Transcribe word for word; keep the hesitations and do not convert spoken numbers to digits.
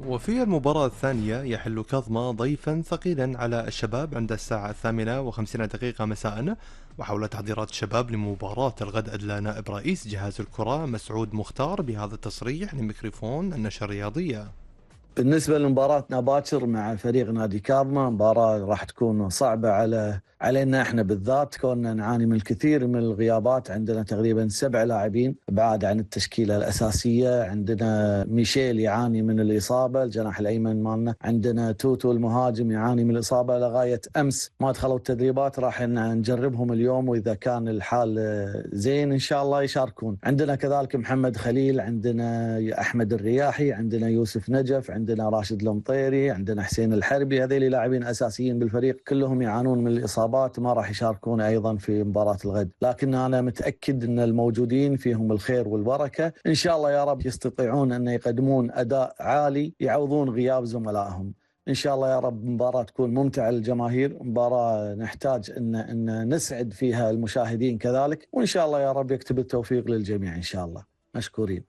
وفي المباراة الثانية يحل كاظمة ضيفا ثقيلا على الشباب عند الساعة الثامنة وخمسين دقيقة مساء. وحول تحضيرات الشباب لمباراة الغد أدلى نائب رئيس جهاز الكرة مسعود مختار بهذا التصريح لميكروفون النشر الرياضية. بالنسبة لمباراتنا باكر مع فريق نادي كاظمة، مباراة راح تكون صعبة على علينا احنا بالذات، كوننا نعاني من الكثير من الغيابات. عندنا تقريبا سبع لاعبين بعاد عن التشكيلة الأساسية. عندنا ميشيل يعاني من الإصابة الجناح الأيمن مالنا، عندنا توتو المهاجم يعاني من الإصابة لغاية أمس ما دخلوا التدريبات. راح نجربهم اليوم، وإذا كان الحال زين إن شاء الله يشاركون. عندنا كذلك محمد خليل، عندنا أحمد الرياحي، عندنا يوسف نجف، عندنا راشد المطيري، عندنا حسين الحربي. هذيل لاعبين أساسيين بالفريق كلهم يعانون من الإصابات، ما راح يشاركون أيضا في مباراة الغد. لكن أنا متأكد أن الموجودين فيهم الخير والبركة، إن شاء الله يا رب يستطيعون أن يقدمون أداء عالي يعوضون غياب زملائهم. إن شاء الله يا رب مباراة تكون ممتعة للجماهير، مباراة نحتاج أن, أن نسعد فيها المشاهدين كذلك، وإن شاء الله يا رب يكتب التوفيق للجميع إن شاء الله. مشكورين.